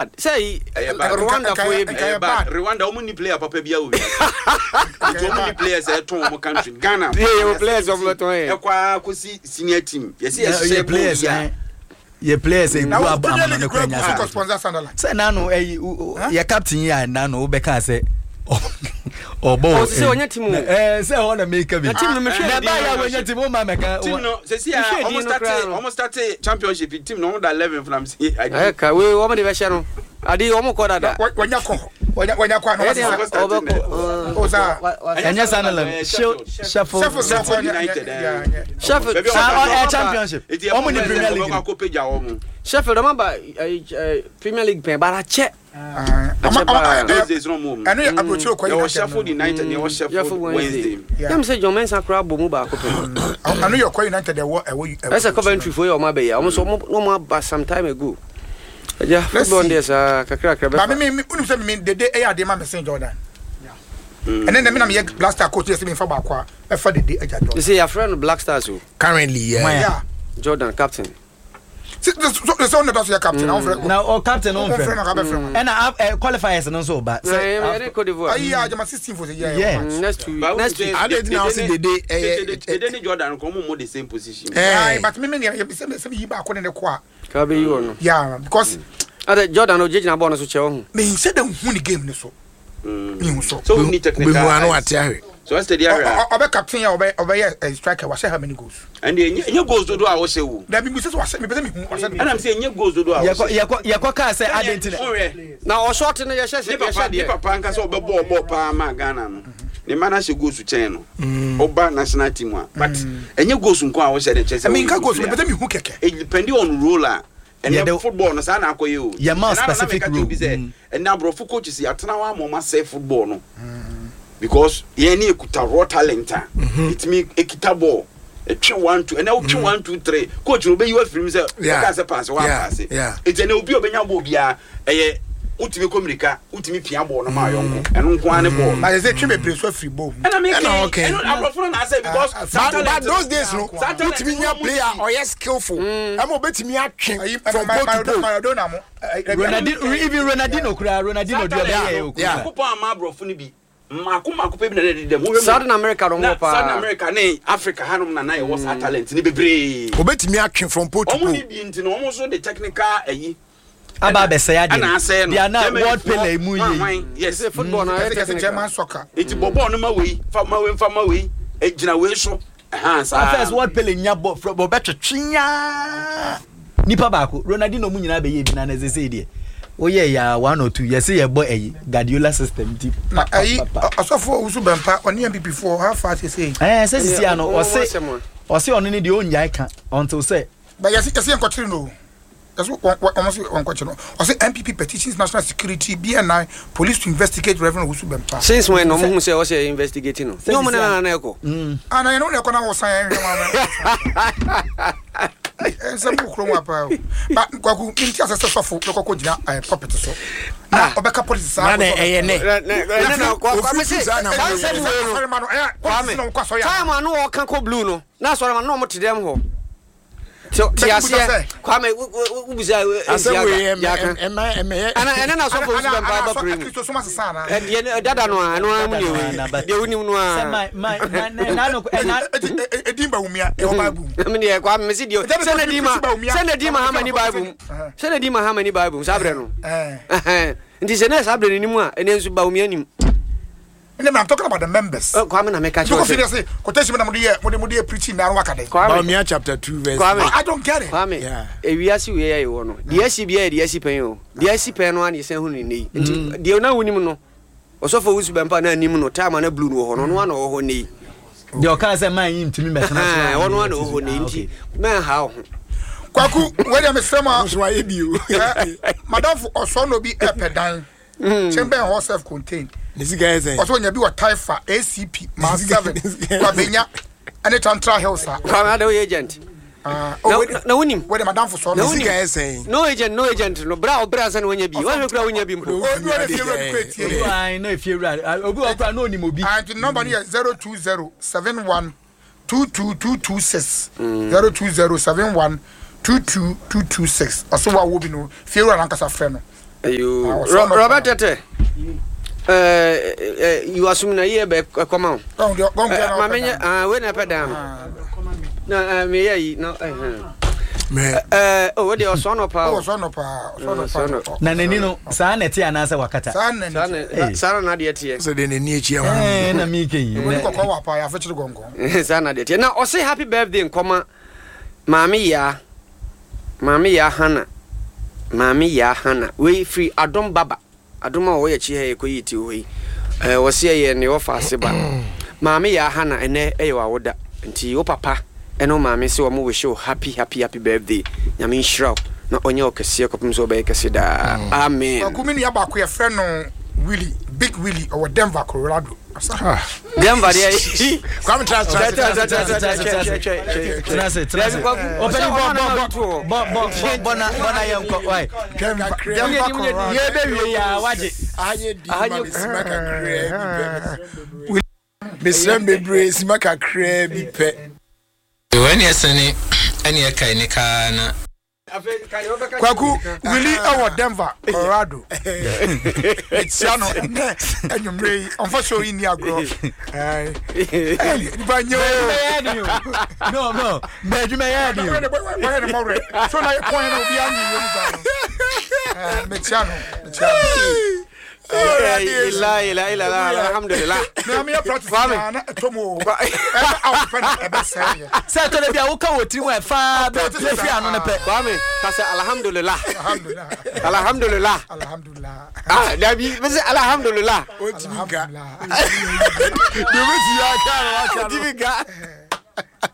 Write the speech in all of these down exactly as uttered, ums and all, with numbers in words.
Sɛ yi Ɛyɛ bad. Rwanda fo yɛ bi. Ɛyɛ Ɛyɛ bad. bad. Rwanda, ɔmo ni player papa bi awo wiase nti ɔmo ni players a ɛtɔn ɔmo country Ghana. Yeah, yeah, players ɔmo tɔn yɛ. Ɛkɔ a kɔsi senior team yɛsi yɛ yɛhyehyɛ players bɔɔl yi ɛ a yɛ players egu Na wo ab Premier amano League ne kura kura gu so nya kɔ sponsor Sunderland. Sɛ nanu ɛyi yɛ captain yi a, nanu wobɛka sɛ ɔbɔ Ɔ, sɛ ɔnyɛ team o. Ɛɛ, sɛ ɛhɔ na meka bi. Na team no mehwɛ Na din ɛbaa yɛ a no. wɔnyɛ team, wo ma mɛka. Team no sɛsi a Mehwɛ ɔmo din no start koraa no. Ɔmo start championship, team no ɔmo da eleven from si. Ɛyɛ ka wei wɔn de bɛhyɛ no ade wɔn kɔ dada. Wɔnya kɔ wɔnya wɔnya kɔ ana? Ɛyɛ deɛ Wɔsesa. Ɔbɛkɔ. O saa. Ɛnyɛ Sunderland, Sheffield. Sheffield Sheffield. kɔ United, eh. Sheffield. Baabi a Ah, ɔmo ɔ- ɛ championship, ɔmo ni Premier League no. Ɔmo akɔ pagya wɔn. Sheffield ɔmo aba ɛɛ ɛɛ Premier League pɛn bara kyɛ. Akyɛ paa. Those days no mo. Ɛno yɛ aburokyire kɔ. Yɛwɔ Sheffield United, yɛwɔ Sheffield Wednesday. Yeah. Yam sɛ John Mensah koraa bɔ mu baako pɛn. Ɛno yɛ ɔkɔ United ɛwɔ ɛwɔ. Ɛsɛ Coventry fo yɛ ɔmo abɛyɛ, ɔmo nso ɔmo na ɔmo aba some time ago. Ɛgya Let's football see. deɛ saa kakra kakra Ba bɛfa. mi mi unim sɛ mi dede ɛyɛ adeɛ ma mi sen Jordan. Ɛnɛ na mi na mi yɛ Black Star coach yɛ sɛ mi nfa baako a ɛfa dede ɛgya Jordan. Sɛ yɛafrɛ no Black Stars o. Currently, yeah. Why? Yeah. Jordan captain. Sɛ sɛ sɛ ɔno da so yɛ captain na ɔnfrɛ. Na ɔ captain no Ɔnfrɛ nfrɛ no ka bɛfrɛ no. Ɛna ah, ɛ, qualifiers no nso ba Na sɛ ɛne Cote d'Ivoire. Ayi a jama sixteen fo sɛ yɛ. Yeah. Mm, next two But next week. Ade nti na ɔse dede ɛyɛ- Dede ne Jordan kɔn mo mo the same position. Eh. Ayi, but mi mi ni sɛ sɛ mi yi baako ne ne kɔ a. Ka bɛyi wɔ no. Yeah, because ade Jordan o gyegyina bɔɔl no so kyɛ ɔho. mi n sɛ de hu ni game ni so. Mi hu so. So we need technical. Obehu ano Eyes. ate ahwɛ. So ɛsɛ de ahwɛ a. Ɔbɛ captain yɛ ɔbɛ ɔbɛ yɛ striker, wahyɛ how many goals? Ɛnde enye enye goals dodo a wɔhyɛ wo. Dabi, mi sɛ sɛ wahyɛ, mi pɛ sɛ mi hu wahyɛ. Ɛna mi sɛ enye goals dodo a yɛkɔ wɔhyɛ. yɛkɔ yɛkɔ kaa sɛ ade nti na Ɔhwɛ. Na ɔshort no yɛhyɛ Ne papa yɛhyɛ ne deɛ. Papa nkasa ɔbɛbɔ ɔbɔ paa ma Ghana no. Ne mma n'ahyɛ goals kyɛn no. Ɔba national team a. But enye goals nko a wɔhyɛ de kyɛ sɛ. Mi nka wɔyɛ goals, mi good pɛ sɛ mi hu kɛkɛ. player. Depending on role a. Ɛnɛ Yɛde- football no saa na akɔyɛ o. Yɛ ma Ɛna na specific meka kyerɛ role. obi sɛ Mm. ɛnɛ aborɔfo coaches yɛatena hɔ ama ɔma sɛ football no because yɛn ne ekuta raw talent a ɛtumi ekita ball ɛtwe one two, ɛnɛ wotwe one two three, coach no obeyi wafiri mu sɛ Yeah. ɔka sɛ pass one Yeah. pass. Yeah. Eti ɛnɛ obi a obenya ball biara, ɛyɛ wotumi kɔ mirika, wotumi pia ball no ma ayɔnko, ɛno nko ara ne ball no. Na yɛ sɛ twe bebree so afiri ball mu. Ɛna mi Ɛna kɛ okay. ɛno aborɔfo no na asɛ because Ah, ah, saa But, talent but those days no, saa talent wotumi no nya ɔmo player ti. ɔyɛ skillful ɛma obetumi atwe Ayi from pole to pole. Maradona mo. Ronaldinho, even Ronaldinho kura, Ronaldinho Saa deɛ ɔbɛyɛ talent yɛ no, o Yeah. kura. Nyankopɔn ama aborɔfo no bi mmaako mmaako pɛ bi na ɛdeda mu. Wohwɛ mu- Southern America no na wɔ paa. Southern America ne Africa hanom na na yɛwɔ saa talent ne bebree. Obetumi atwe from pole to Ɔmo pole. ne bi nti no, ɔmo nso de technical ayi Aba abɛsɛe adeɛ ɛna asɛe no. deɛ na Germany world foɔ, Pele mu hwan, yie. hwan, yes. Sɛ football na ɛyɛ Kɛse kɛse technical. German soccer. Nti bɔ bɔɔl no ma wei fa ma wei fa ma wei egyina wei so ɛhan saa. First world Pele nya bɔ fr ɔbɛtwetwe nyaa nipa baako, Ronaldinho mu nyinaa bɛyɛ bi na na ɛsɛ sɛ deɛ woyɛ yɛ one or two, yɛsɛ yɛbɔ ɛyi Guardiola system nti. Na ayi pa, pa, pa. Ɔsɔfo Owusu Bɛmpa ɔne N P P foɔ how far sese? Ɛɛ, sɛ sisi ano Ɔmo- ɔmo ɔse asɛm a. Ɔse ɔno ne deɛ ɔnyae ka until sɛ But yɛsi yɛsi yɛn kɔkyere no o. Yɛsi wɔn wɔn si wɔn kɔkyere no. Ɔsɛ N P P petitions national security, B N I, police to investigate Reverend Owusu Bɛmpa. Since when na ɔmo hu sɛ ɔsɛ investigate no? Nyɛ ɔmo na na ɛkɔ. Ana yɛn no na ɛkɔ na wɔsan yɛn hwɛ wɔn nsɛm kò kurom apa o. Ba Kwaku mi n ti asɛ sɛ sɔfo bɛkɔ kɔ gyina ɛɛ pulpit so na ɔbɛka politics saa. Na na ɛyɛ nɛ. Ɛnɛ na Kwame Ofiri sɛ saa na saa mo- nsɛm wei no. Asɔre ma no ɛyɛ politics na ɔkɔ asɔre Time a no wɔka kɔ blue no na asɔre ma no na ɔmo te dɛm hɔ te Bɛti aseɛ. sɛ- Kwame, wobisa. Asɛm wei ɛmɛ yɛaka ɛmɛ ɛmɛ ɛna ɛnɛ na asɔfo Owusu Bɛmpa aba pere mu. Kristo soma sesa ana? Ɛdeɛ no- dada no a ɛno ara mu Dada no a, na deɛ but- deɛ wonim no sɛ a my my na na na no ɛna Eti edin Bawumia ɛwɔ Bible mu? Me deɛ Kwame mesi deɛ Ɛdɛ bi sɛ na sɛ di ma Kristo Bawumia- sɛ na di Mahama ni Bible mu, Ɛhɛn. sɛ na di Mahama ni Bible mu saa berɛ no. Ɛɛ. Ɛhɛn. Nti sɛ na saa berɛ no nim a, ɛnɛ nso Bawumia nim. Ne I'm talking about the members. Ɛ, Kwame na meka Nti kyerɛ kò wo fi sɛ de se quotation mi na mo de yɛ mo de mo de yɛ preaching na waka de. Kwame. Bawumia chapter two verse. Kwame. I don't get it. Kwame, Yeah. ewiase wei a yɛwɔ no, deɛ asi biara yɛ deɛ asi pɛn o. Deɛ asi pɛn no a na yɛsan hu ne nnɛ yi. Nti deɛ na wonim no, ɔsɔfo Owusu Bɛmpa na anim no time a na blue no wɔ hɔ no, ɔno a na ɔwɔ hɔ nnɛ yi. Deɛ ɔkaa sɛ man yi ntumi mɛtena so Ɛhɛn, a, ɔno a na ɔwɔ hɔ nnɛ yi Ah, nti okay. mɛnha wo ho. Kwaku wei deɛ mesrɛ mu a Nso ayɛ bi o. ɛ, madamfo ɔsɔ na obi ɛpɛ dan chamber hall self contained. Ne sika yɛ sɛn? Ɔsɔ onya bi wɔ Taifa A C P mile seven Kwabenya ɛne Tantra Hills a. Kwame, ada woyɛ agent? Ah, Na- oh, wei- na- na wonim? Wei de madamfo sɔ Na no. Ne wonim? sika yɛ sɛn? No agent, no agent no bra ɔbrɛ ansa na woanya bi, woahwɛ kora wonya bi mpo. Oh, obi wɔ ne fie wura bi kɔ etie Obi wɔ ayi na efie wura ah, obi wɔ kora na onim obi. Ah, nti number no yɛ zero two zero seven one two two two two six, zero two zero seven one two two two two six. Ɔso wa wo bi no fie wura nankasa frɛ no. Ayo Ah, ɔsɔ no Robert paa. Tete eh eh you assume na ye be koma o. Gɔn deɛ gɔn deɛ na Ma ɔpɛ menye dan. ah we na pe dan no. Na eh me ye yi na eh mɛ eh oh we de ɔsɔ no pa Ɔwɔ o. sɔ no paa ɔsɔ no Ɔsɔ no. paa. Na n'ani no saa na ɛte anaasɛ wakata. Saa na Saa ne na saa na deɛ teɛ. sɛ deɛ n'ani akyi ɛho Ɛɛ na mi ke yi. Obi kɔkɔɔ wɔ paa yɛafekyere gɔngɔn. Saa na deɛ teɛ. Na ɔse happy birthday nkɔma maame yaa maame yaa Hana maame yaa Hana wei firi Adom Baba Adom a wɔyɛ akyi ha yɛ kɔyi ti hɔ yi ɛɛ wɔse ɛyɛ ne wɔfa ase ba maame yaa Hana ɛnɛ ɛyɛ wawoda nti wo papa ɛne wo maame sɛ wɔn wish wo happy happy happy birthday. Nyame nhyira wo na ɔnyɛ wo kɛseɛ kɔpem sɛ wɔbɛyɛ kɛse daa. Amen. Kwaku mi nua baako yɛfrɛ no Willie, Big Willie, ɔwɔ Denver, Colorado. Asa. Denver deɛ Kwame tra tra tra tra tra Tena ase tena ase. Ɔpɛni bɔ bɔ bɔ bɔ bɔ bɔ bɔ na bɔ na yɛn kɔ wae. Denver, Denver, Colorado. Yɛ bɛ wie ya wagye. Ahanye di ma me sima kakraa bi pɛ mesrɛ m bebree sima kakraa bi pɛ. Ɛne ɛsɛne ɛne ɛkae ne kaa na Kwaku Willie ɛwɔ Denver, Colorado. Etia no ɛnɛ ɛnwumire yi ɔnfa show yi ni agorɔ. Ɛɛ ɛɛ nipa nye o. Bɛyɛ ni o. No no mɛ adwuma yɛ ni o. Wɔyɛ ne mɔwerɛ. So na yɛ pɔn na obi anyi yɛ mu saa no. Ɛɛ metia no metia no. Ila ila ila alhamdulillah. Mɛ mi yɛ practice Kwame. na na ɛtɔ mu o. Ɛbɛ awo pɛ na ɛbɛ sɛ yɛ. Sɛ ɛtɔ de bi a woka wɔ tiri mu a ɛfaa bɛ pie fi ano ne pɛ. Kwame kasa alhamdulillah. Alhamdulilah. Alhamdulillah. Alhamdulilah. Ah dabi bese alhamdulillah. Ɔntumi nka Alhamdulilah. deɛ ɔbɛtumi aka no waka no. Ntimi ka.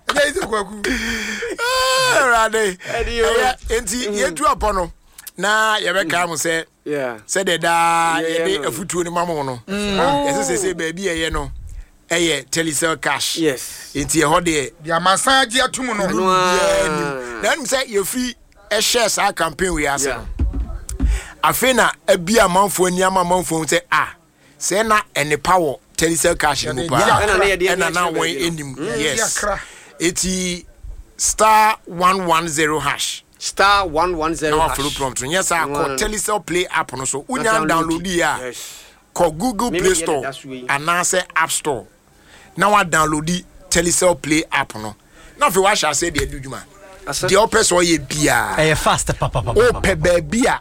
Ɛyɛ yi sɛ Kwaku. Awurade Ɛde o. ɛyɛ enti yɛtu apɔ no na yɛbɛka mo sɛ Yeah. sɛdeɛ daa Yɛyɛ yɛde no. afutuo no ma mo no yɛsɛ sɛ sɛ baabi ɛyɛ no ɛyɛ Telecel Cash. Yes. Nti ɛhɔ deɛ Deɛ amansan agye atum no. No. biara nim na ɛnim sɛ yɛfiri ɛhyɛ saa campaign wei ase Yeah. no afei na abi amanfoɔ ani ama amanfoɔ hu sɛ a sɛ na ɛnepa wɔ Telecel Cash no mu Yɛde paa Ɛna na yɛde ani ɛna na akyerɛ wɔn baabi no. anim yes Akra. eti star one one zero hash Star one one na zero wafolo hash. prompt no nyɛ saa kɔ One. Telecel Play app no so Na wonya download yi a Yes. kɔ Google Mimi Play deɛ Store deda so yi. anaasɛ App Store na wa download Telecel Play app no na afei wahyɛ aseɛ deɛ adi dwuma Asa. deɛ wopɛ sɛ ɔyɛ biara Ɛyɛ fast papapapa. wopɛ baabi a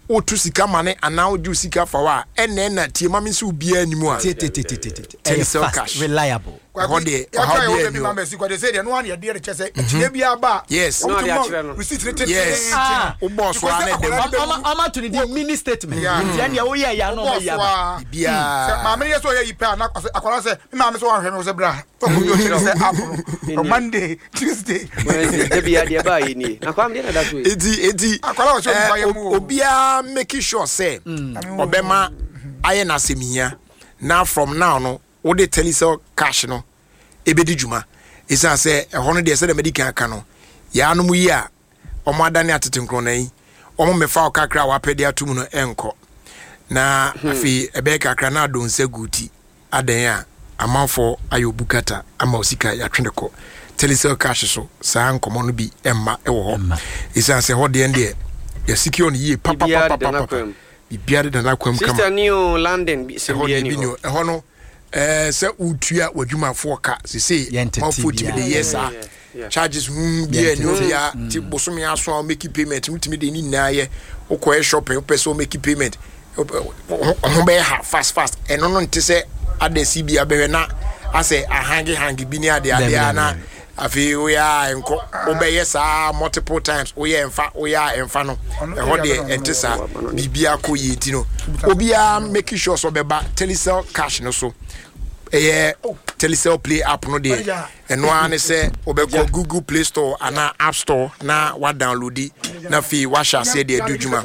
wotu sika ma ne anaa wogye wo sika fa hɔ a ɛnna ɛna tie ma me nso obiara anim a Tie tie tie tie tie tie. Ɛyɛ Telecel fast Cash., reliable. Ɛhɔ deɛ yɛka ɔhaw yɛ biara wɔ nni bi hɔ. ma mɛsi kwade sɛ deɛ no ano yɛdeɛ de kyɛ sɛ akyinɛ bi aba a Yes. wɔn Na ti ɔde mɔ akyerɛ no. receipt ne tenten. Yes. Ah. Wobɔɔ so a na ɛdɛm. Ɔma ɔma to ne di mini statement. Yeah. Nti ɛnea woyɛ yɛ ano ɔma yi aba. Bɔɔso a Biara. sɛ maame no yɛ sɛ ɔyɛ yi pɛ a na ɔsɛ- akwadaa sɛ me maame sɛ wanhwɛ me wo sɛ bra ɔkɔ bi ɔkyerɛ sɛ app no on Monday, Tuesday. Wednesday dabi adeɛ baa yɛ nie. Na Kwame deɛ na da so yi. eti eti Akwadaa wɔ sɛ onipa eh, yɛ mu o. obiara make sure sɛ ɔbɛma ayɛ n'asɛm hia na from now no wode Telecel Cash no ebedi dwuma esan sɛ ɛhɔ no deɛ sɛdeɛ mɛdi kan aka no yaanom yi a ɔmo adane atete nkorɔna yi ɔmo mɛfa wo kakra a wapɛ de ato mu no ɛnkɔ na afei ɛbɛyɛ kakra na adɔ nsa gu ti adan a amanfoɔ ayɛ obu kata ama osika yɛatwe ne kɔ Telecel Cash so saa nkɔmɔ no bi ɛmma ɛwɔ hɔ ɛsiane sɛ hɔ deɛ no deɛ yɛsecure no yie Biribiara deda papapapapapa n'akwan mu. Biribiara deda n'akwan mu kama. Sister Neo London bi sɛ Ɛhɔ bia deɛ ni bi ni hɔ. hɔ ɛhɔ no ɛɛ sɛ wotua w'adwumafoɔ ka sesei Yɛntete manfoɔ tumi de biara. yɛ saa Yeah, yeah. charges hmm biara ni Yɛntete. obiara ti bosome aso a womake payment wotumi de ne nyinaa yɛ wokɔyɛ shopping wopɛ sɛ womake payment wopɛ- wo ho ho bɛyɛ ha fast fast. Ɛno no nte sɛ adasi bi abɛhwɛ na asɛ ahange hange bi ne ade ade Dabi, a dabi, na dabi. Afei woyɛ a nkɔ wobɛyɛ saa multiple times woyɛ ɛmfa woyɛ a ɛmfa no Ɔno ɛhɔ area deɛ no, ɛnte saa. Ɔno- Biribiara kɔ yie nti no obiara make sure sɛ ɔbɛba Telecel Cash no so ɛyɛ Telecel Play app no deɛ Ɔyɛ. ɛno ara ne sɛ wobɛkɔ Google Play Store anaa App Store na wadownload na afei wahyɛ aseɛ deɛ adi dwuma.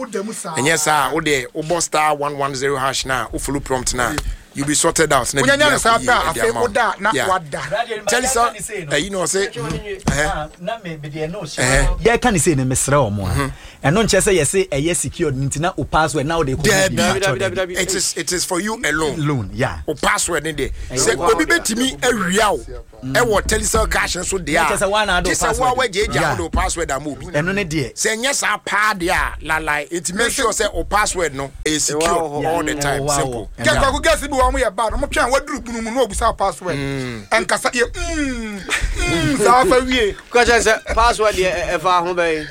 Ɛnyɛ saa a wodeɛ wobɔ star one one zero hash na wofollow prompt na You be sorted out. Na Wonya biribi no saa akɔ yie pɛ a, ɛde afei ama wo. woda a, na Yeah. wada. Telecel ɛyi na ɔsɛ na me me deɛ no hyɛ yɛka ne sei no mesrɛ wɔ mo a ɛno nkyɛ sɛ yɛse ɛyɛ secured nti na wo password na wode kɔ Dabi. Dabi, dabi, dabi, dabi. It is it is for you alone. loan yeah O password ne deɛ sɛ Ɛyɛ obi bɛtumi awia wo ɛwɔ Telecel cash nso deɛ Na kyerɛ sɛ woa na a ade wo gye sɛ woa password. woagyaagya Yeah. wode wo password ama obi ɛno ne deɛ sɛ ɛnyɛ saa paa deɛ a lalai nti make sure sɛ o password no ɛyɛ secure Ɛwɔ hɔ. all the time Ɛwɔ hɔ. simple. Yeah. Kɛ kwaku gɛsi bi wɔ ɔmo yɛ bad ɔmo twɛn waduru bunu mu na obusa password ɛnkasa yɛ mm mm saa fa wie Ka kyerɛ sɛ password deɛ ɛ- ɛfa ho bɛyi.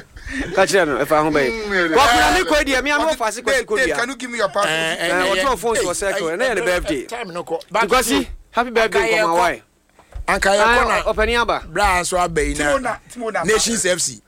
Ka kyerɛ no ɛfa ho bɛyi. Kwakuna mi kɔ deɛ mi a mi wɔ faase kwasi Dave kɔ Dave dua. can you give me your password Eh, Eh, eh, ɔtɔn phone so eh, wɔ circle, eh, ɛnɛ yɛ ne eh, birthday. time no kɔ. But Kwasi happy birthday Anka yɛkɔ- nkɔmɔ wae. anka yɛkɔ na Ɔpɛni aba. bra nso aba yi Timo na na Timo na Nations F C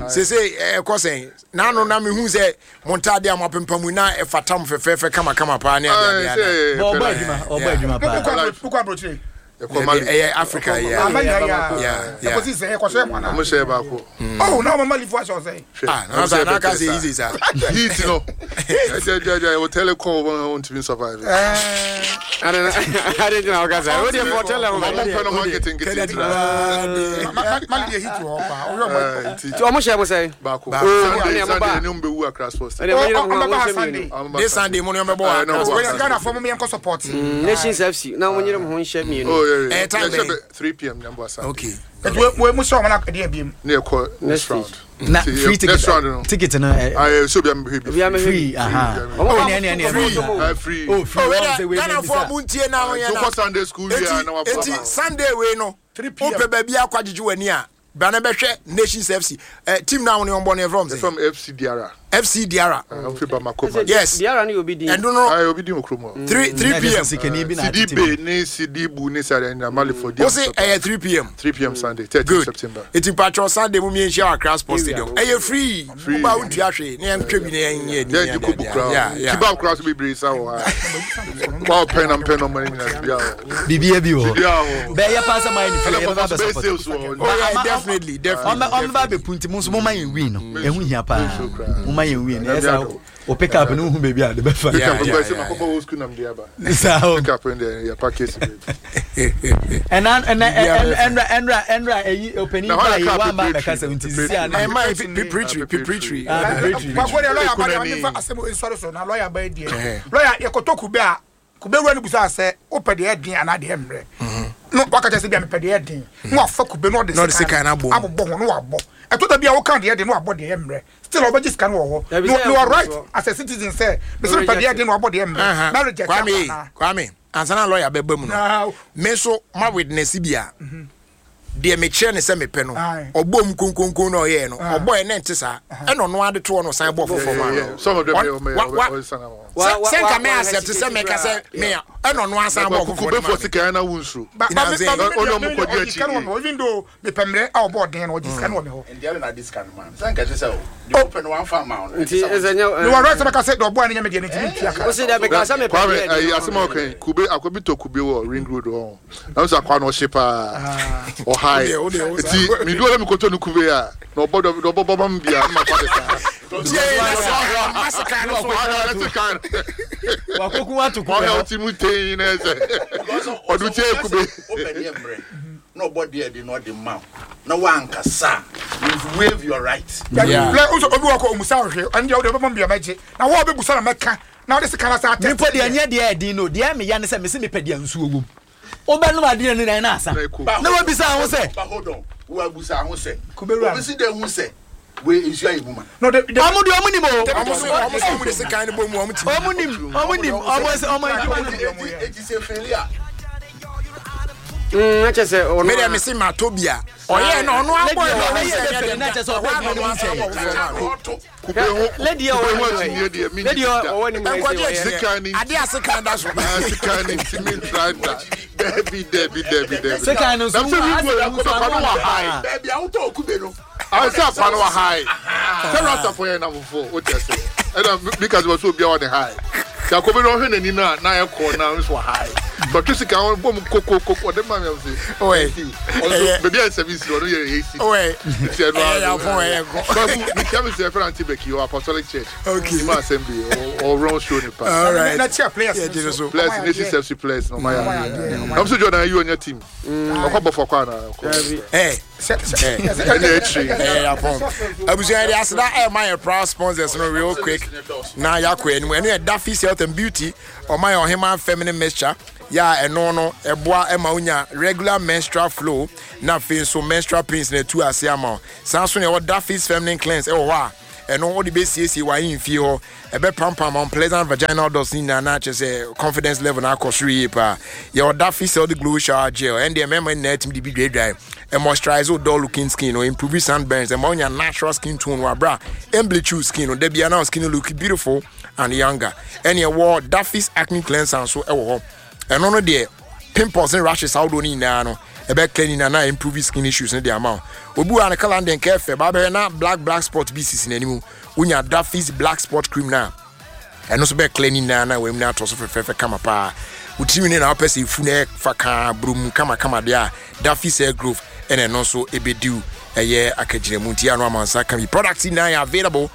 sese ɛkɔ sɛn n'ano na mehu sɛ mo ntaade a mo apempam yi na ɛfata mo fɛfɛɛfɛ kamakama paa ne adeade ana ɔbɔ adwuma ɔbɔ adwuma paa wokɔ abro- wokɔ aburokyire Ɛbi- ɛyɛ Africa yɛ ama Yeah, nyina yeah, yɛ yeah. ɛkɔsi sɛ ɛkɔhyɛ mu ana ɔmo hyɛ baako. oh na ɔmo malifo ahyɛ ɔsɛ ah na sa na aka sɛ easy saa Heat no. Ɛjɛ ɛjɛ ɛjɛ o telecom wɔn ntumi survive. ɛɛ Ade gyina hɔ kasa. O deɛ fɔ tɛlɛ ho. Ɔmo mpɛ no ho nketenkete ntina. mali deɛ heat wɔ hɔ paa ɔyɛ ɔmo Ɛɛ, nti Nti ɔmo hyɛ mo sɛn. baako. Baako. Sunday Oh, Sunday ɛnna ne ɔmo bɛwu Accra Sports Ɛnna mo nyere mo ho Ɔmo a bɛba mo nhyɛ Sunday. mmienu. this Sunday mo ne ɔmɛbɔ wɔ Eh, no, Accra wɔ Sports. wei Ghana fo mo yɛnkɔ support Nations F C na mo nyere mo ho nhyɛ mmienu. Oh yeah yeah. Eh, time Yɛhyɛ bɛn? bɛ three p m nyambo asa. Okay ɛti wei wei mu hyɛ ɔmo na ɛdeɛ biem Ne yɛ kɔ Next next round. na Nti, free eh, next round no. ticket ticket no ɛ Ayi so bi a mehwɛ bi. Obi a mehwɛ free bi. aha Ɔmo oh ba ne ne ne free. Eh, free. oh free oh wɔn wei sɛ wei dɛ ne Ghanafoɔ bisa mo ntie na ho yɛ So na kɔ Sunday school wie a na eti wabɔ eti aba. Sunday wei no three p m wopɛ baabi akɔ agyegye w'ani a bra na bɛhwɛ Nations F C eh, team na wo ne ɔmbɔ no yɛfrɛ ɔm sɛ From F C Diarra. F C Diarra Ɔmo fi Bamako. Sɛ Yes. Diarra ne yɛ obi din. ɛno no Ayi obi di mo kurom hɔ. three three p m sikani bi na Sidi atete mu Be ne Sidi Bu ne Sadi na Mali for wo se ɛyɛ three p m three p m Sunday thirteen good September. eti mpatwɔ Sunday mu mienhyia wɔ Accra Sports Area. Stadium ɛyɛ free Free. woba wontua hwee ne yɛntwɛ bi ne yɛnyɛ ni Yɛn gye kubu kura. Kebab kura so bebree sa wɔ ha. Wa pɛn na mpɛn na ɔmo ne nyinaa bi awɔ. biribiara bi wɔ hɔ Bi awɔ. bɛyɛ paa sɛ mayɛ ne free Ɛna yɛbɛba papa so bɛyɛ bɛ support sales wɔ hɔ. Oh yeah, Ama- definitely, definitely. ɔmɛ ɔmɛ ba bɛ punti mo nso mo ma yɛn win no ɛho hia paa Nso koraa. mo ma yɛn win no Ɛna ɛsɛ bi o pick up no hu baabi a de bɛfa Pick Yeah, up yeah, nkɔ ɛsɛ yeah, ma kɔkɔ old school nam de aba. saa o Pick up in the yɛ package bi. ɛna ɛna Biribiara ɛnra ɛnra ɛnra ɛyi ɔpanin Na ba hɔ na yi car wa ba preparatory. bɛka sɛ nti sisi a ne Ɛma preparatory, preparatory. Ah, preparatory. kwaku deɛ lɔya ba deɛ Ekunani. ɔne fa asɛm nsɔre so na lɔya ba yi Eh. deɛ lɔya yɛkɔtɔ kube a kube wura no busa sɛ wopɛ deɛ ɛden anaa deɛ mmerɛ no waka kyerɛ sɛ bia mepɛ deɛ ɛden na wafa kube na ɔde Na ɔde sekan no abɔ mu. abobɔ ho na wabɔ ɛtɔ da bi a woka deɛ ɛden na wabɔ deɛ mmerɛ still ɔbɛgye sika no wɔ hɔ Dabi na sɛ na wɔ ɛwɔ right so. as a citizen sɛ mesɛ mepɛ deɛ ɛden na wabɔ deɛ mmerɛ na reject Kwame, ama Kwame, ansa na lawyer bɛba mu no. na Me nso ma witness bi a deɛ mekyerɛ ne sɛ mepɛ no Aye. ɔbɔ mu konkonkon na ɔyɛɛ no Aye. ɔbɔ yɛ ne nte saa ɛna ɔno ade toɔ no ɔsan bɔ foforɔ ma Yeah, no yeah. Some of them Ɔn- yɛ ɔmo wa- yɛ wa- ɔmo ɔmo san ama. Wa- sɛ wa- sɛ wa- nka me wa- accept sɛ hesitate meka sɛ koraa. me a ɛna ɔno asan bɔ foforɔ Kube no fɔ ma me sika yɛn na wunsuro. Ba- You know ba- what I'm me- saying? ba- me- Ɔne me- ɔmo me- kɔdi ɔgye akyi. sika no wɔ me hɔ even though mepɛ mmerɛ a ɔbɔ ɔden no ɔgye sika no wɔ me hɔ Nti ɛna adi sika no ma no. Sɛ nka kyerɛ sɛ o, deɛ wopɛ no wamfa amma wo no. Nti ɛsɛ nyɛ. mewɔ right sɛ bɛka sɛ deɛ ɔbɔa no nyɛ me deɛ no nti mentua ka O se dɛ meka sɛ mepɛ Kwame deɛ ayi ɛden. asɛm a ɔka yi kube akɔbi tɔ kube wɔ ring road hɔ na nso akwa na ɔhye paa ɔhae Wodeɛ, wodeɛ, wo nti midu ɔlɛ mi kɔtɔ ne kube a na ɔbɔ dɔ ɔbɔ bɔ ma mi bia na ma kɔ de saa. Tie, na sɛ ɔma sekan no so Ɔhwɛ ɔte kan wakoko ato ɔhwɛ kube ɔte mu tein na ɛsɛ ɔdo tie kube. Wopɛ deɛ mmerɛ na ɔbɔ deɛ de na ɔde ma wo na woankasa a, you've waived your right. Yeah. Lɛ, nso obi wɔ kɔ omusa ɔhwɛ ɛno deɛ wode wobɛbɔ me bia mɛgye na wo a wobɛbusa na mɛka na wode sika no sa atɛ nipa deɛ nyɛ deɛ ɛdin no deɛ meya ne sɛ mese mepɛ deɛ nsuo wom wobɛnom adeɛ no na asa Na ɛkɔ. But na hold- wabisa ho sɛ But hold on, woabusa ho sɛ. Kube wura no. Obi si dɛ hu sɛ wei nsuo ayɛ mu ma. No, de- de- ɔmo deɛ ɔmo nim o ɔmo so ɔmo so ɔmo de sekan no bɔ mu ɔmo ti ɔmo nim ɔmo nim ɔmo sɛ ɔmo adwuma no Eti eti sɛ feli a. Mm, na kyerɛ sɛ ɔno me deɛ a- me se ma tɔ bi a ɔyɛ no ɔno abɔ Lady yɛ a ɔno ɔyɛ sɛ bɛfɛ ɛnyɛ no, na dɛ kyerɛ sɛ ɔbɔ ɛhɔ a adwuma no na ɔno mu asan nkyɛn. bɔ foforɔ ma no Ɔto. Kube ho Lady a kube ɔwɔ ho anim akyinnye deɛ mi Lady a ɔwɔ anim ha yi sɛ nkɔgye ɔyɛ- Sika ni akyinɛ ade a sekan da so Ah, sika ni nti mi ntra da dɛbi dɛbi dɛbi dɛbi. Sekan no nso Na sɛ wo- ring road asɛ wo nso akɔtɔ kwa no ano wɔ ɔde hae. paa. Baabi a wotɔ kube no. Sɛ akwa no wɔ hae. Sɛ rastafo yɛ namfofo o tɛ sɛ ɛna mi ka sɛ wɔ sɛ obiara wɔ ne hae. Sɛ akɔbi no ɔhwɛ n'ani na na ayɛ kɔɔ na nso wɔ hae. But sika wɔn bɔ mu koko koko ɔde maa mi am se. Ɔyɛ. Ɔno beebi a seven cedis ɔno yɛ eight cedis. Ɔyɛ. Nti ɛno Ɛyɛ yapɔn ɛyɛ kɔ. Babu mi kia mi sɛ ɛfɛ aunty Becky ɔ Apostolic Church. Okay. Ima assembly ɔ ɔrɔn show nipa. All right. Na kyerɛ players Yeah, gyina so. Players Nation F C players na ɔma yɛ adeɛ. Ɛm sɛ Jordan ayi ɔnyɛ team. Ɔkɔ bɔ fɔ kɔ ana. Dabi. Ɛ Ɛna akyire. ɛyɛ yapɔn. Abusua yɛde aseda ɛma yɛ proud sponsors no real quick na yakɔ anim. Ɛno yɛ Daffy's Health and Beauty. Ɔma yɛ ɔhema feminine mixture. Ya ɛno no ɛboa ɛma wonya regular menstrual flow na afei nso menstrual pains na ɛtu ase ama wo. Saa nso na ɛwɔ Daffy's feminine cleanse ɛwɔ hɔ a ɛno wode bɛsiesie w'ahemfie hɔ, ɛbɛpampam unpleasant vaginal dots ne nyinaa na kyerɛ sɛ confidence level na akɔ soro yie paa. Yɛwɔ Daffy's Healthy Glow shower gel, ɛn deɛ mmarima nyinaa tumi de bi dwaedwae, moisturize wo dull looking skin or improve sunburns, ɛma wonya natural skin tone wɔ aberɛ a ɛmbleach wo skin no da bia na wo skin look beautiful and younger. Ɛne ɛwɔ Daffy's acne cleanser nso ɛwɔ hɔ. Ɛno no deɛ pimples ne rashes ahodoɔ no nyinaa no ɛbɛka nyinaa na improve skin issues no de ama wo. Obi wɔ a ne colour no deɛ nka ɛfɛ baa bɛhwɛ na black black spot bi sisi n'anim, wonya Daffy's black spot cream na ɛno nso bɛɛ clear ne nyinaa na wɔam no atɔ so fɛfɛɛfɛ kama paa. Wo tirinwi no na wopɛ sɛ efu na ɛfa kaa burom kamakama deɛ a, Daffy's hair growth ɛna ɛno nso ɛbɛdiw ɛyɛ akagyinamu. Nti ano amansa ka bi products nyinaa yɛ available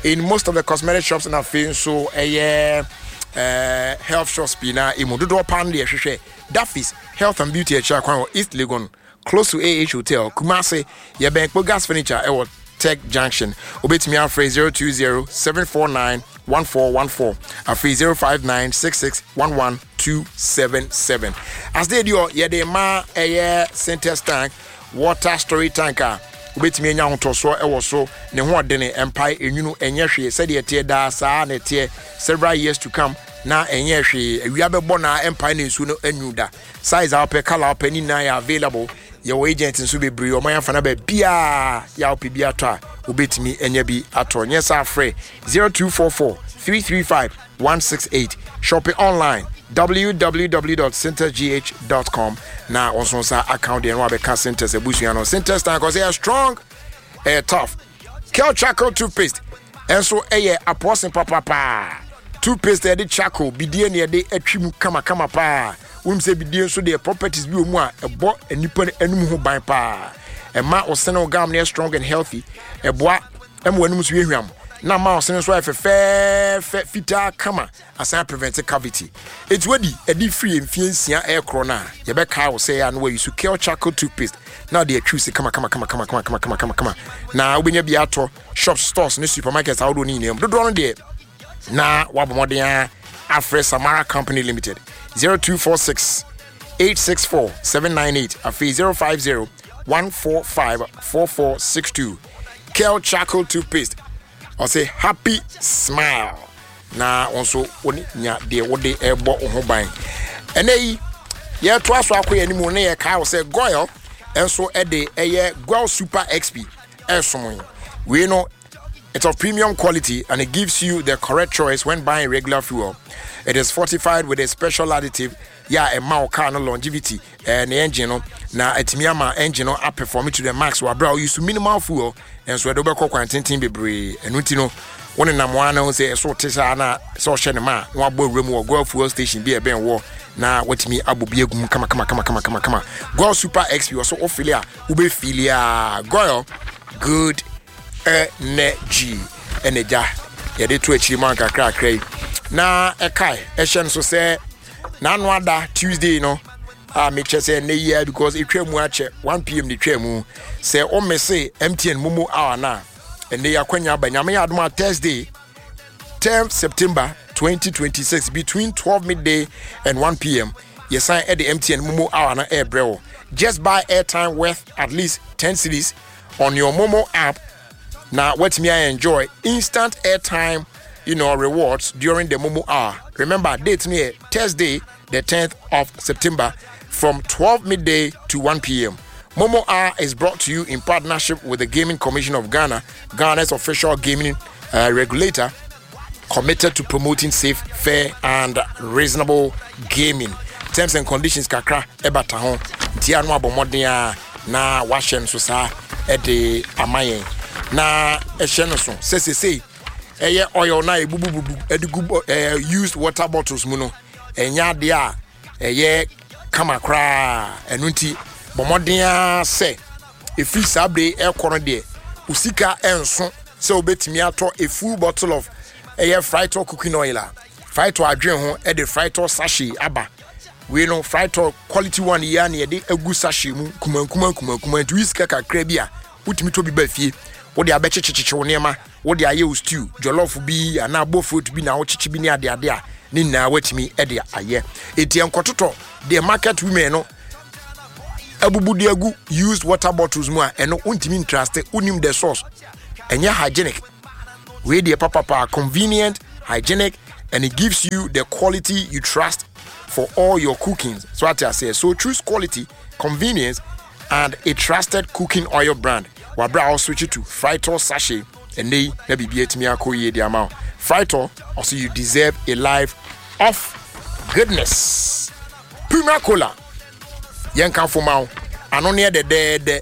in most of the cosmetic shops na afei nso ɛyɛ ɛɛ health shops pii na emu dodoɔ paa no deɛ ɛhwehwɛ Daffy's Health and Beauty akyire akwan wɔ East Legon, close to A H Hotel, Kumasi. Yɛbɛn Kpo Gas Furniture ɛwɔ Tech Junction. Obetumi afrɛ zero two zero seven four nine one four one four, afei zero five nine six six one one two seven seven. Asede di hɔ yɛde ma ɛyɛ Sintex tank, water storage tank a wobɛtumi anya ahotɔsoɔ ɛwɔ so, ne ho ɔdene, mpae enwunu ɛnyɛ hwee, sɛdeɛ ɛteɛ daa saa na ɛteɛ several years to come na ɛnyɛ hwee. Awia bɛbɔ na mpae ne nsuo no anwu da. Size a wopɛ, colour a wopɛ ne nyinaa yɛ available. Yɛwɔ agent nso bebree ɔman afa na baabiaa yɛ a wopɛ bi atɔ a wobɛtumi anya bi atɔ. Nyɛ saa frɛ zero two four four three three five one six eight. Shopping online w w w dot sintex g h dot com na wɔn nso nsa account deɛ no wabɛka Sintex abusua no. Sintex tank ɔsɛ ɛyɛ strong, ɛyɛ tough. Kel charcoal toothpaste ɛnso ɛyɛ apɔsen papapaa. Toothpaste yɛde charcoal bidie na yɛde atwi mu kamakama paa. Wɔn sɛ bidie nso deɛ properties bi wɔ mu a ɛbɔ nipa anim ho ban paa. Ɛma ɔsene wo gum no yɛ strong and healthy. Ɛboa ɛma wɔn anim nso yɛ hwam na ama ɔsene nso ayɛ fɛfɛɛfɛ fitaa kama, asan prevent cavity. Eti wadi ɛde firi mfie nsia ɛɛkorɔ no a yɛbɛka wo sɛ ano wayi so Kel charcoal toothpaste na ɔde atwiw se kama kama kama kama kama kama kama kama kama na wobɛnya bi atɔ shops, stores ne supermarkets ahodoɔ no nyinaa mu. Dodoɔ no deɛ na wabɔ mmɔden a afrɛ Samara Company Limited zero two four six eight six four seven nine eight, afei zero five zero one four five four four six two. Kel charcoal toothpaste ɔsɛ happy smile na wɔn nso wɔn nya deɛ wɔde ɛbɔ wɔn ho ban. Ɛnɛ yi yɛto aso akɔ yɛn anim na yɛka wɔ sɛ Goil nso ɛde ɛyɛ Goil Super X P ɛsom yi. Wei no it's of premium quality and it gives you the correct choice when buying regular fuel. It is fortified with a special additive. Yeah, ɛma wo car no longevity, eh, ne engine no na ɛtumi ama engine no aperform to the max wɔ abere a use minimal fuel nso ɛde wobɛkɔ kwan tenten bebree. Ɛno nti no wo nenam wa na wo sɛ ɛso te saa na sɛ ɔhyɛ ne ma a na wabɔ awura mu wɔ Goil fuel station bi a ɛbɛn wɔ na watumi abɔ bi agu mu kama kama kama kama kama kama. Goil Super X P ɔso wofili a wobɛfili a Goil good energy ɛna gya yɛde to akyiri mu ankakrakra yi na ɛkae ɛhyɛ no so sɛ n'ano ada Tuesday no a mekyɛ sɛ ɛnɛ yi a because etwa mu akyɛ one p m ne twa mu sɛ ɔmese M T N Momo hour na ɛnɛ yi akwanya aba. Nyame yɛ adom a Thursday tenth September twenty twenty-six between twelve midday and one p m yɛsan ɛde M T N Momo hour na ɛɛbrɛ wo. Just buy airtime worth at least ten cedis on your Momo app na watumi I enjoy instant airtime, you know, rewards during the Momo hour. Remember, date near Thursday, the tenth of September, from twelve midday to one p m. Momo Hour is brought to you in partnership with the Gaming Commission of Ghana, Ghana's official gaming, uh, regulator, committed to promoting safe, fair, and reasonable gaming. Terms and conditions kakra ebata ho. Tia no abomodea na washe nso sa ede amayen. Na ehye no so se se se eye oil na ebubububu ede gu, eh, used water bottles mu no. Enya de a Ɛyɛ kama koraa. Ɛno nti bɔ mmɔden ara sɛ ɛfiri saa bere ɛkɔ no deɛ, wo sika ɛnso sɛ wobɛtumi atɔ a full bottle of ɛyɛ Frytol cooking oil a, Frytol adwene ho ɛde Frytol sachet aba. Wei no, Frytol quality one yi a na yɛde agu sachet mu nkuma nkuma nkuma nkuma, nti wo sika kakra bi a, wotumi tɔ bi ba fie, wode abɛkyekyekyekyɛ wo nneɛma, wode ayɛ wo stew, jollof bi anaa bofrot bi na wokyekye bi ne adeade a, ne nyinaa watumi de ayɛ. Eti nkɔtotɔ deɛ market women no abubu de agu used water bottles mu a, ɛno wontumi ntrust, wonim the source, ɛnyɛ hygienic. Wei deɛ papapa, convenient, hygienic, and it gives you the quality you trust for all your cooking. So ate aseɛ? So choose quality, convenience and a trusted cooking oil brand wabra a switch to Frytol sachet. Ɛnɛ yi na biribi atumi akɔ yie de ama wo. Frytol also, you deserve a life of goodness. Prima Cola, yɛnka fo ma wo. Ano ne yɛ dɛdɛɛdɛ,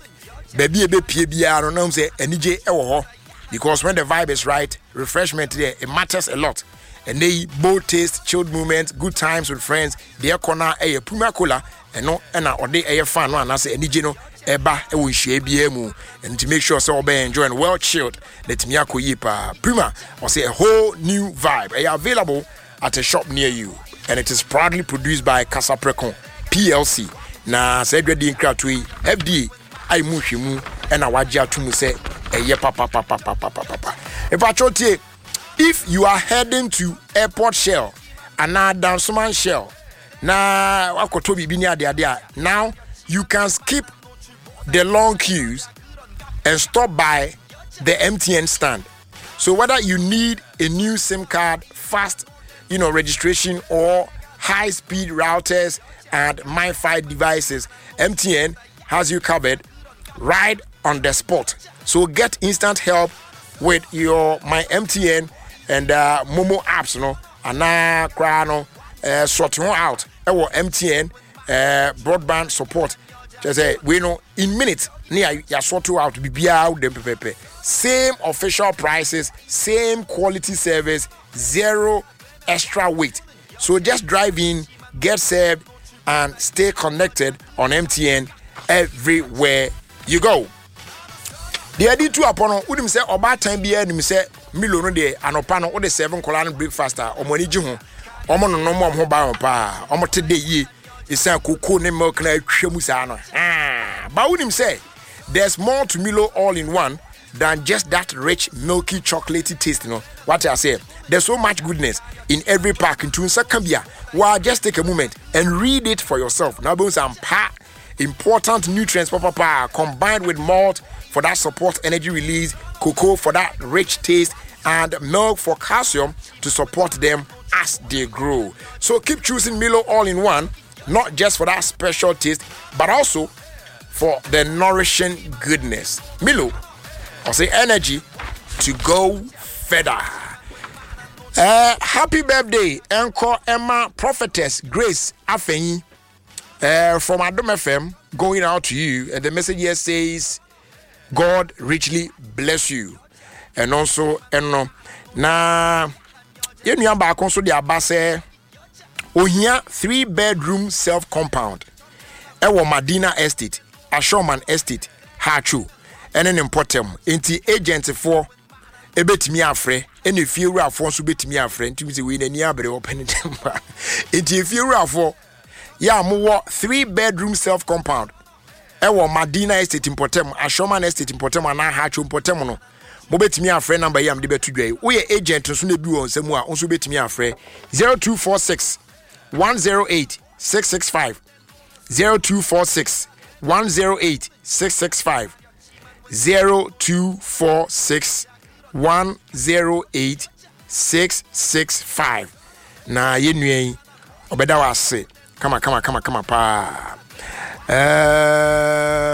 baabi a ɛbɛpie biara no nam sɛ anigye ɛwɔ hɔ, because when the vibe is right, refreshment there, it matters a lot. Ɛnɛ yi, bold taste, chilled moment, good times with friends, deɛ ɛkɔ no ɛyɛ Prima Cola. Ɛno ɛna ɔde ɛyɛ fan no anaasɛ anigye no ɛba ɛwɔ nhyia biara mu. And to make sure sɛ ɔbɛyɛ enjoy no well chilled na ɛtumi akɔ yie paa. Prima ɔsɛ a whole new vibe. Ɛyɛ available at a shop near you and it is proudly produced by Kasapreko P L C. Na saa adwadie nkratoɔ yi, F D A ayi mu nhwɛmu ɛna wagye ato mu sɛ ɛyɛ papapapapapapa. Ìpàtúwò tie, if you are heading to Airport Shell anaa Dansoman Shell na wakɔtɔ biribi ne adeade a, now you can skip the long queues and stop by the M T N stand. So whether you need a new SIM card, fast you know registration, or high speed routers and MiFi devices, M T N has you covered right on the spot. So get instant help with your My M T N and uh, MoMo apps no, anaa koraa no uh, sort ho out ɛwɔ M T N uh, broadband support. Kyerɛ sɛ wei no, in minutes ne yɛ sort out biribiara wo dem pɛpɛpɛ. Same official prices, same quality service, zero extra wait. So just drive in, get served and stay connected on M T N everywhere you go. Deɛ ɛde tu apɔ no, wonim sɛ ɔbaatan biara nim sɛ Milo no deɛ, anɔpa no wode serve nkɔlaa no breakfast a, ɔmo ani gye ho, ɔmo nonom, ɔmo ho ba wɔn paa, ɔmo te de yie ɛsiane cocoa ne milk na atwa mu saa no. Ah, ba wonim sɛ there's more to Milo all in one than just that rich, milky, chocolatey taste no. What I say, there's so much goodness in every pack. Nti nsa ka bi a wa, just take a moment and read it for yourself na wobɛhu sɛ ampa, important nutrients papa combined with malt for that support energy release, cocoa for that rich taste, and milk for calcium to support them as they grow. So keep choosing Milo all in one, not just for that special taste, but also for the nourishing goodness. Milo, I say energy to go further. Uh, happy birthday, Uncle Emma Prophetess Grace Afenyi uh, from Adom F M, going out to you. And the message here says, "God richly bless you." And also, and na yɛn nua baako nso de aba sɛ ohia three bedroom self compound ɛwɔ Madina Estate, Ashoman Estate, Haatso ɛne ne mpɔtɛm. Nti agentfoɔ ebetumi afrɛ, ɛna efiewurafoɔ nso betumi afrɛ. Nti sɛ wei n'ani abere, ɔpɛ ne dɛm ba. Nti efiewurafoɔ yɛ a mowɔ three bedroom self compound ɛwɔ Madina Estate mpɔtɛm, Ashoman Estate mpɔtɛm anaa Haatso mpɔtɛm no, mobɛtumi afrɛ number yi a mede bɛto dwa yi. Woyɛ agent nso na ebi wɔ nsɛm a, nso bɛtumi afrɛ zero two four six one zero eight six six five, zero two four six one zero eight six six five, zero two four six one zero eight six six five. Na yɛn nua yi ɔbɛda wɔ ase kama kama kama kama paa.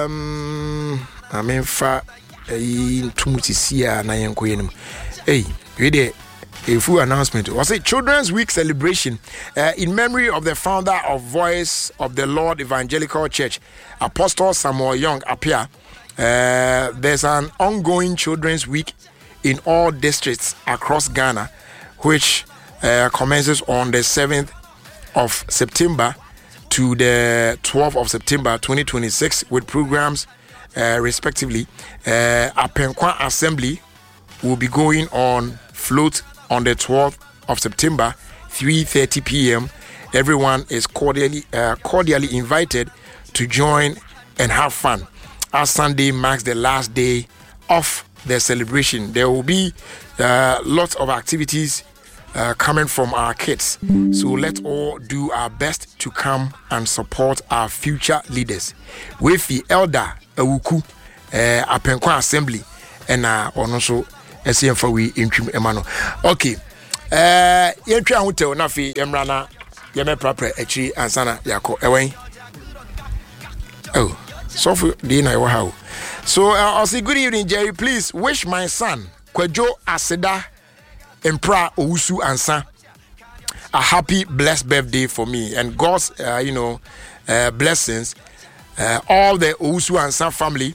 um, na memfa ɛyi ntom sisi a na yɛnkɔ yɛn mu. Ei, wei deɛ, a full announcement was it Children's Week celebration uh, in memory of the founder of Voice of the Lord Evangelical Church, Apostle Samuel Young Appiah. Uh, there's an ongoing Children's Week in all districts across Ghana, which uh, commences on the seventh of September. to the twelfth of September twenty twenty-six with programs uh, respectively. Uh, Apenkwa Assembly will be going on float on the twelfth of September, three thirty p m. Everyone is cordially uh, cordially invited to join and have fun. As Sunday marks the last day of the celebration, there will be uh, lots of activities uh, coming from our kids. So let's all do our best to come and support our future leaders. With the elder Awuku uh, Apenkwa Assembly, and uh, ɔno nso ɛsɛ yɛmfa wei ntwim ɛma no. Okay, uh, yɛntwa ahotɛw na afei yɛmmra na yɛmɛprapra akyiri ansa na yɛakɔ. Ɛwɛn oh, sɔfo deɛ na ɛwɔ ha o. So uh, ɔse, "Good evening, Jerry. Please wish my son Kwadwo Aseda Mpra Owusu Ansa a happy blessed birthday for me and God's uh, you know uh, blessings. Uh, all the Owusu Ansa family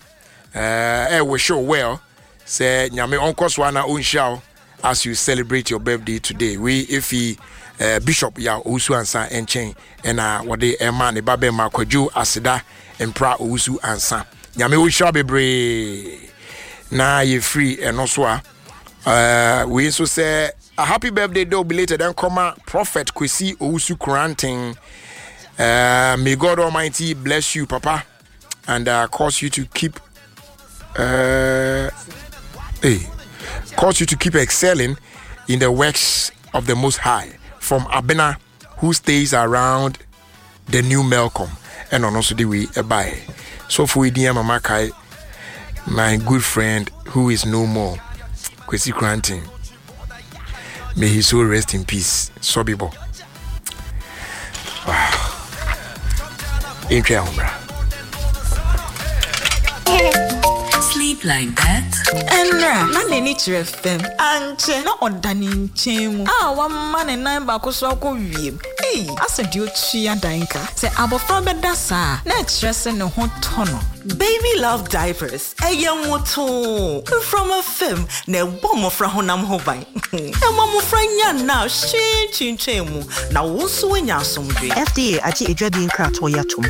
uh, eh, wish you well. Sɛ Nyame ɔnkɔ so ana ɔnhyira wo as you celebrate your birthday today." We efi uh, Bishop ya Owusu Ansa nkyɛn ɛna wɔde ɛma ne ba bɛma Kwadwo Aseda Mpra Owusu Ansa. Nyame ɔnhyira bebree. Na yɛfiri ɛno so a, uh, wei nso sɛ a happy birthday though belated and comma Prophet Kwesi Owusu Kranten. Uh, may God Almighty bless you, Papa, and uh, cause you to keep uh, hey, cause you to keep excelling in the works of the Most High. From Abena, who stays around the new Melcom. And on also the way by. So for Mama Kai, my good friend who is no more, Kwesi Kranten. May his soul rest in peace. Sobibo. Wow. Intwe ahombra. Sleep like that. Ɛnra na n'ani kyerɛ fam ankyɛ na ɔda ne nkyɛn mu a wama ne nan baako so akɔ wiem. Ei, asɛ deɛ otua dan ka sɛ abɔfra bɛda saa na ɛkyerɛ sɛ ne ho tɔ no. Baby Love Diapers ɛyɛ nwotoo mframa fam na ɛbɔ mmɔfra honam ho ban, ɛma mmɔfra nya nna a hwee twintwɛn mu na wo nso woanya asomdwe. F D A agye adwadie nkratoɔ yi atom.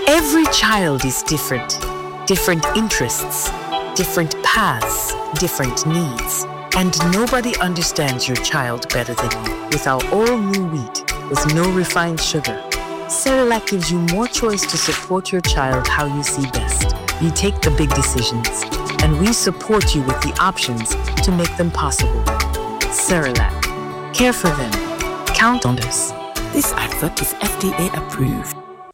Every child is different. Different interests, different paths, different needs. And nobody understands your child better than you. With our all new wheat, with no refined sugar, Cerelac gives you more choice to support your child how you see best. You take the big decisions, and we support you with the options to make them possible. Cerelac. Care for them. Count on us. This advert is F D A approved.